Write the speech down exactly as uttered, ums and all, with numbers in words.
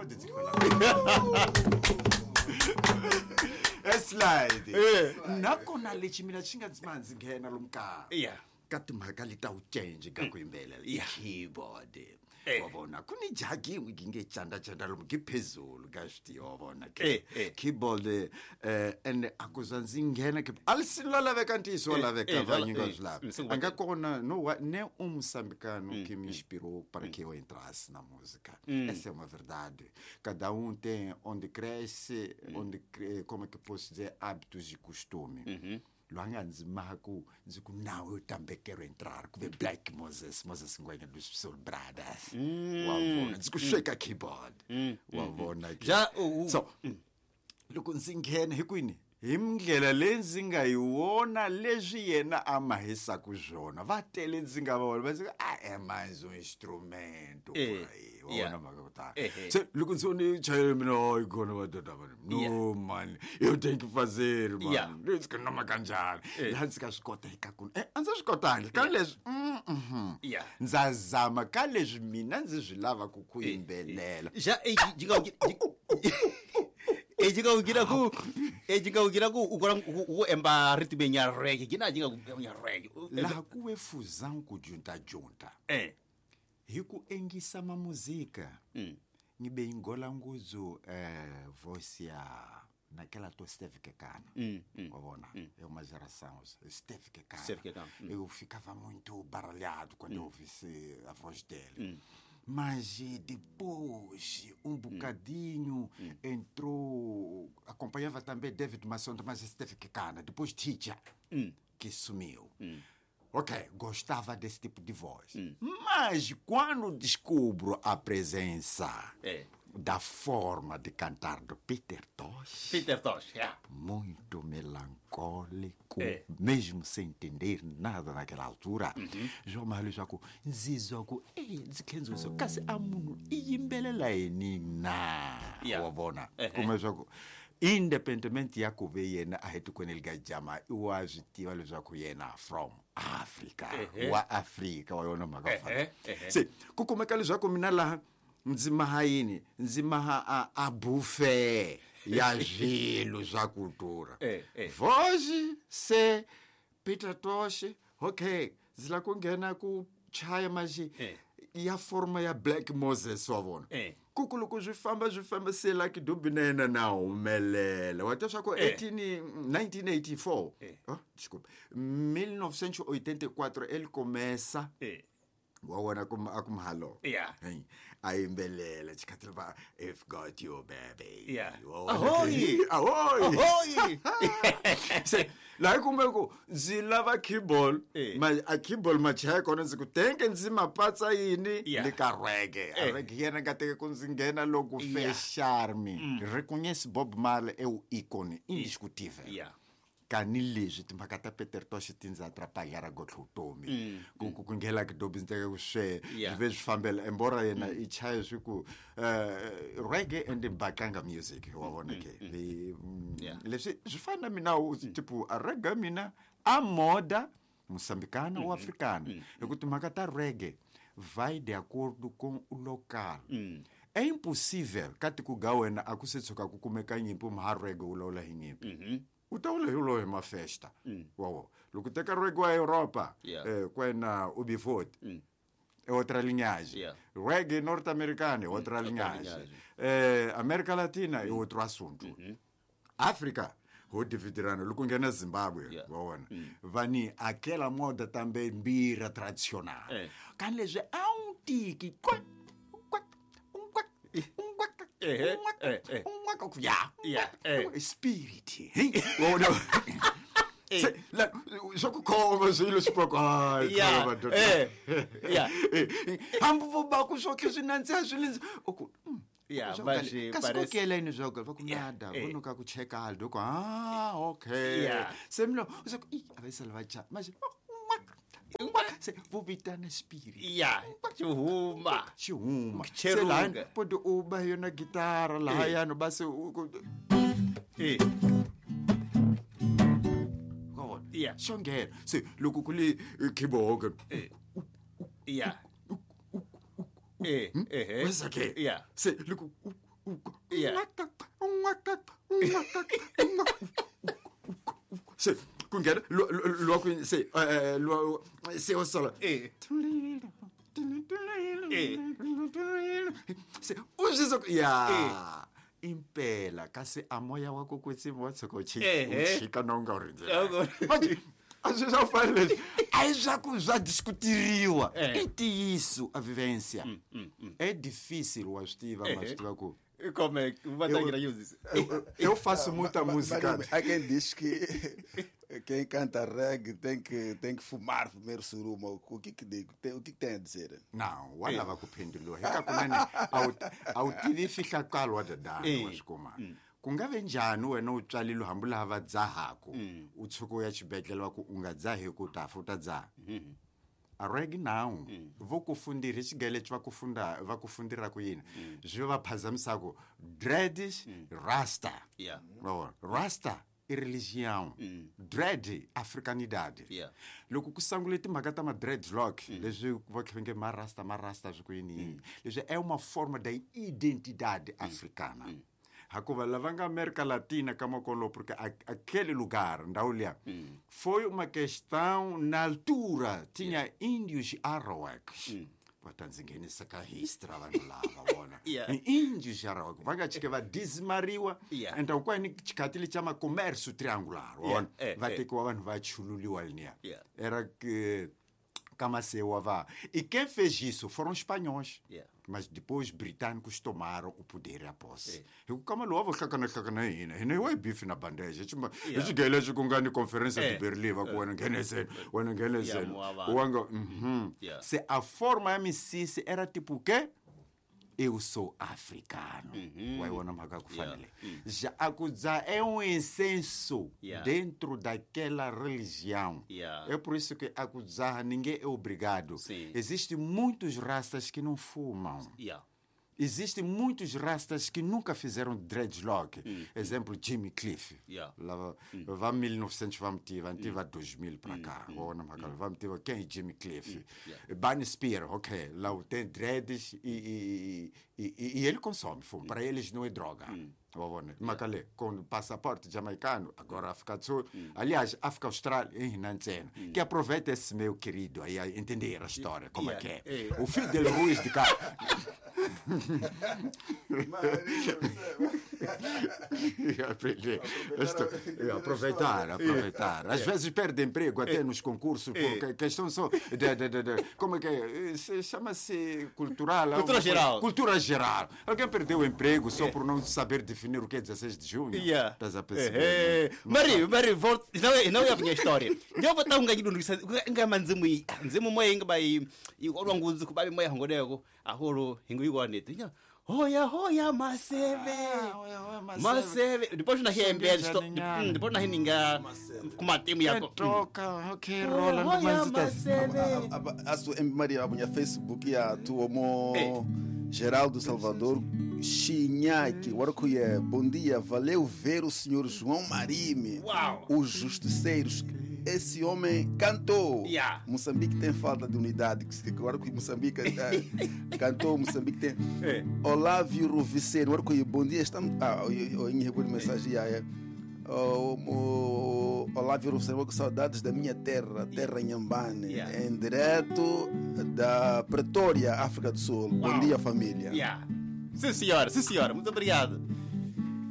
Keyboard ndzi hlwela. Slide. Nakona lexi mina xi nga ndzi ma ndzi nghena lomu kaya. Yeah. Ka timhaka leti ta wu change ka ku yimbelela i keyboard. Eh. Wa vona ku ni jagi yin'we yi nge canda canda lomu ki phezulu ka switiyo wa vona ke. Eh, eh. Keyboard eh and a ku za ndzi nghena ke a li la laveka ntiyiso wa Eh, laveka eh, va la- nyinga eh, swi lava. mm, A nga kona no wa ne um moçambicano que me inspirou para que eu entrasse na música. Essa é uma verdade. Cada um tem onde cresce, onde cre- como é que posso dizer, hábitos e costume. Loyi a nga ndzi maha ku ndzi ku now eu também quero entrar ku ve Black Moses, Moses Ngwenya dos Soul Brothers. Wa vona ndzi ku sweka keyboard. Wa vona ke. Ja, u- u- So loko ndzi nghena hi kwini hi ndlela leyi ndzi nga yi vona leswi yena a mahisaku swona va tele ndzi nga va vona va ndzi ku a é mais um instrumento Eh, por aí wa yeah. vona mhaka ku tala Ehe. se loko ndzi vone chayela mina hayi khona madoda mani no mani eu tenho que fazer mani Yeah. ndzi ku noma kanjhani laha ndzi nga swi kota eka ku eh, a ndzi swi kotangi ka leswi mm, mhm. Yeah. ndza zama ka leswi mina ndzi swi lavaka ku yimbelela Ja e ji nga e ji nga gira ku e ji nga gira ku u kora ku emba ritme nya reggae gina ji nga nya reggae. Laha ku ve fusão ku juntajunta Eh. hi ku engisa ma muzika ngibe ingola nguzu eh voice ya naquela to Steve Kekana. Wa vona é uma geração Steve Kekana. Steve Kekana, Eu ficava muito baralhado quando eu ouvisse a voz dele. Mas eh, depois, um bocadinho, entrou. Acompanhava também David Massonda, mas Steve Kekana. Depois Teacher, que sumiu. Ok, gostava desse tipo de voz. Mas quando descubro a presença É. da forma de cantar do Peter Tosh, Peter Tosh, yeah. muito melancólico, É. mesmo sem entender nada naquela altura. João Mário Jaco, ndzi ku ei ndzi khendziso kasi a munhu i yimbelela yini na Yeah. wa vona Ehe. kuma leswaku independentemente ya ku ve yena a hi tikweni lika jama i wa swi tiva leswaku yena from Africa Ehe. wa Afrika wa yona mhaka Ehe, fana ehe. se ku kumeka leswaku mina laha ndzi maha yini ndzi maha a, a buffet ya swilo swa kultura Eh, eh. voz se Peter Tosh okay ndzi la ku nghena ku chaya maxi Eh. ya forma ya Black Moses wa vona Eh. ku ku loko swi famba swi famba se Lucky Dube na yena na humelela wa twa swa ku Eh. eighteen nineteen eighty-four Eh. oh, desculpa mil novecentos e oitenta e quatro ele começa Eh. wa wona ku a ku mhalo Yeah. Hey, a yimbelela xikhathi va if got you baby Yeah. Wa vona Ahoy! ke- ahoy Ahoy! se laha kumbe ku ndzi lava keyboard Eh. ma a keyboard machaya kona ndzi ku tenke ndzi mapatsa yini Yeah. le ka reggae a Eh. reggae yena nga teke ku ndzi nghena loko Yeah. fecharme reconhece Bob Marley é o ícone indiscutível Yeah. kanileswi timhaka ta Peter Tosh ti ndzi atrapalhara gotlhe vutomi ku ku ku nghena Lucky Dube ndzi teka ku swe Yeah. swi ve swi fambela embora yena i chaya swi ku eh, reggae and mbaqanga music wa vona ke Vi- mm, Yeah. leswi swi fana na mina u- tipo a reggae mina a moda moçambicana ou africana hi ku timhaka ta reggae vai de acordo com o local é impossível ka tiko ga wena a ku se tshuka ku kumeka nyimpi maha reggae wu lawula hi nyimpi u ta wula hi lowu hi mafesta wawo loko u teka reggae wa Europa Yeah. eh, kwena U B forty é outra linhagem. Yeah. Reggae norte-americano é outra linhagem. linhagem. Eh, América Latina é outro assunto. África, ho dividirana loko nghena Zimbabwe Yeah. wa vona vani aquela moda também mbira tradicional Eh. kan leswi a wu tiki kwa kwa kwa kwa Ehe, eh, eh. kwa ya Yeah, eh. spirit hey wa vona Se, la swa ku khoma swilo swi paka hayi Yeah, khoma madoda. eh, yeah. Eh, hambi vo ba ku swo swi nandziha swi lindzi u ku mm, Yeah, swa ku mas, kale- eh, kasi parece- ku kela yini swa ku va ku Yeah, nada eh. vo noka ku cheka aldo ku ah okay Yeah. se milo u se ku i a va sala va cha manje se vo vitana spirit Yeah, xi huma. xi huma se Cheruka. lahani podi u ba yona gitara lahayani ba se u ku Eh. wa vona Yeah. xo nghena se loko ku li keyboard Eh. Yeah. Eh, eh. wesa ke Yeah. se loko Yeah. Se kungena lo se lo se o solo. Se o ya impela kasi a moya wa ku kwetsima wa tshuka u chika na u nga u rindzela manje a swi swa fana leswi a hi swa ku swa diskutiriwa i ntiyiso a vivência é difícil wa swi tiva ma swi tiva ku como é que eu, eu faço muita música. Há quem diz que quem canta reggae tem que, tem que fumar primeiro suruma. O que que digo? O que, que tem a dizer? Não, wa lava ku phenduluwa hika kunene a wu tivi fihlakalo wa dadana wa swi kuma ku nga ve njhani wena u tswalile hambi laha va dzahaku u tshuka u ya xibedhlele va ku u nga dzahi ku ta fa u ta dzaha a reggae now vo ku fundira hi xigele va ku funda va ku fundira ku yini swi va phazamisaku dreads rasta yeah rasta i religião dread africanidade loko ku sangule timhaka ta ma dreadlock leswi va khe ma rasta ma rasta swi ku yini yini leswi é uma forma da identidade africana hakuva lava nga América Latina kama kolo porque aquele lugar ndhawu liya foi uma questão na altura tinha yeah. índios arawaks va ta ndzi nghenisa ka history vanhu lava vona índios arawaks va nga chike va dizimariwa enda kwani xikhathi lexi xa ma-comércio triangular vona va tekiwa vanhu va chululiwa leniya era que Kamasewa vá. E quem fez isso foram os espanhóis. Yeah. Mas depois os britânicos tomaram o poder e a posse. Eu kama lovo hlakana hlakana hina. Hina hi bifi na bandeja. Xigele xi ku nga ni conferência de Berlim va ku wena ngheneseni, wena ngheneseni. Wanga mhm. Se a forma ya misisi era tipo o quê? Eu sou africano. Vai wona mhaka ku fanele. Já a ku dzaha é um incenso yeah. dentro daquela religião. Yeah. É por isso que a ku dzaha ninguém é obrigado. Existem muitos rastas que não fumam. Yeah. Existem muitos rastas que nunca fizeram dreadlock. Mm. Exemplo, Jimmy Cliff. Yeah. Lá, mm. Vá mil e novecentos, vamos ter, vamos ter dois mil para cá. Mm. Mm. Vamos ter quem é Jimmy Cliff? Mm. Yeah. Bunny Spear, ok. Lá tem dreads e, e, e, e ele consome fumo. Mm. Para eles não é droga. Mm. Makale, com passaporte jamaicano, agora África do Sul. Mm. Aliás, África Austral, em Nantzena. Mm. Que aproveita esse meu querido aí a entender a história, como yeah. é que é. Yeah. O Fidel Ruiz de cá. Aprender. Aproveitar, aproveitar. Às vezes perde emprego até nos concursos, por questão só de, de, de, de como é que é? Chama-se cultural. Cultura geral. Cultura geral. Alguém perdeu o emprego só por não saber definir o que é dezesseis de junho. Yeah. Estás a perceber? Mari, Mari, volta. Não, não é a minha história. Eu vou estar um ganho nga manzimu nzimu moya nga bai ikolwa nguzu kubabi moya ngoleko aholo hingu ikwanete. Hoya hoya maseve. Maseve. Depois na hembe depois na hininga kuma timu yako. Troca, okay, rola no maseve. A sua Maria a minha Facebook ya tu Geraldo Salvador Chinhaque, Warcuia, bom dia, valeu ver o senhor João Marime. Uau. Os justiceiros. Esse homem cantou. Yeah. Moçambique tem falta de unidade. Agora que Moçambique cantou, Moçambique tem. É. Olávio Roviceiro, Warcuia, bom dia. Estamos. Ah, eu recebi mensagem. É. O Olávio Roviceiro, com saudades da minha terra, terra Inhambane, yeah. Em direto da Pretória, África do Sul. Uau. Bom dia, família. Yeah. Sim, senhora, sim, senhora. Muito obrigado.